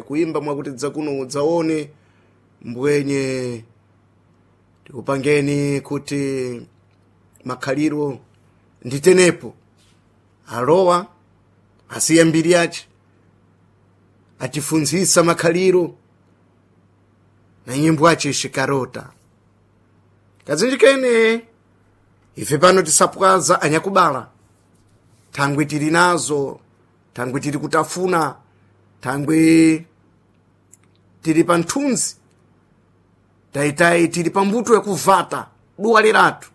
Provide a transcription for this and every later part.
Kuimba mwakuti dzakuno udzaone mbwenye tikupangeni kuti makhaliro nditenepo alowa asiya mbiri yace atifunzisa makhaliro na nyimbo ace xikarota kazinji kene ife pano tisapwaza anyakubala thangwi tili nazo, thangwi tili kutafuna, thangwi tili pa nthunzi, tayitayi tili pa mbuto yakuvata duwa liratu,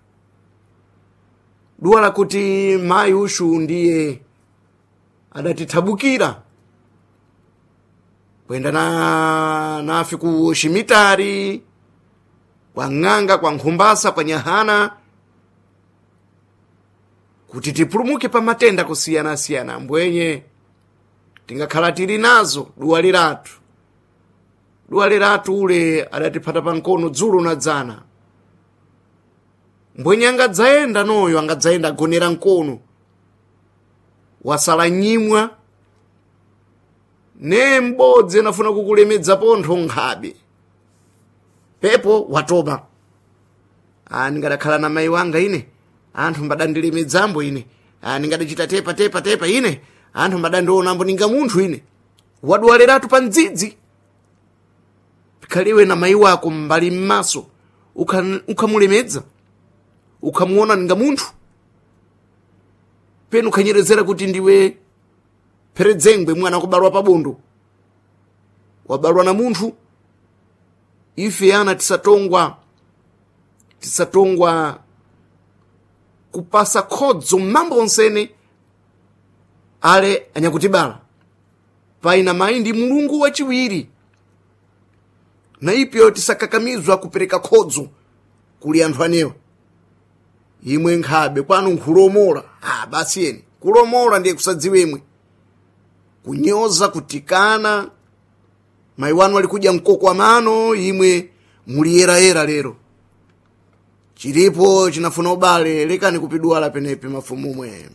duwa lakuti mayi ushu ndiye adatithabukira kwenda na nafe ku ximitari, kwa ng'anga, kwa nkhumbasa, kwa nyahana kuti tipulumuke pa matenda kusiyanasiyana. Mbwenye tingakhala tili nazo duwa liratu, duwa liratu ule adatiphata pa nkono dzulo na dzana. Mbwenye angadzayenda noyo angadzayenda agonera nkono wasala nyimwa ne m'bodzi anafuna kukulemedza pontho nkhabe pepo watopa. Ah, ndingadakhala na mayi wanga ine anthu mbadandilemedzambo ine, ah, ndingadachita tepa tepa tepa ine anthu mbadandionambo ninga munthu ine. Wadwaleratu pa mdzidzi pikhaliwe na mayi wako mbali m'maso ukhamulemedza ukhamuona ninga munthu penu ukhanyerezera kuti ndiwe pheredzengwe mwana wakubalwa pabondo wabalwa na munthu. Ife ana tisatongwa tisatongwa kupasa khodzo mambo onsene ale anyakutibala paina mayi ndi mulungu wachiwiri na ipyo tisakakamizwa kupereka khodzo kuli anthu anewa. Imwe nkhabe kwanu nkhulomola, ah, basi eni kulomola ndiye kusadziwa imwe kunyoza kutikana mayi wanu ali kudya mkoko wa mano imwe muliyerayera lero chilipo chinafuna ubale lekani kupidwala penepe mafumumwe.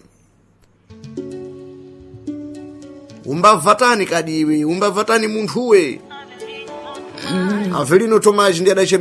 Umbavatani kadiwe umbavatani munthuwe. Avelino Tomaji ndi adachemera.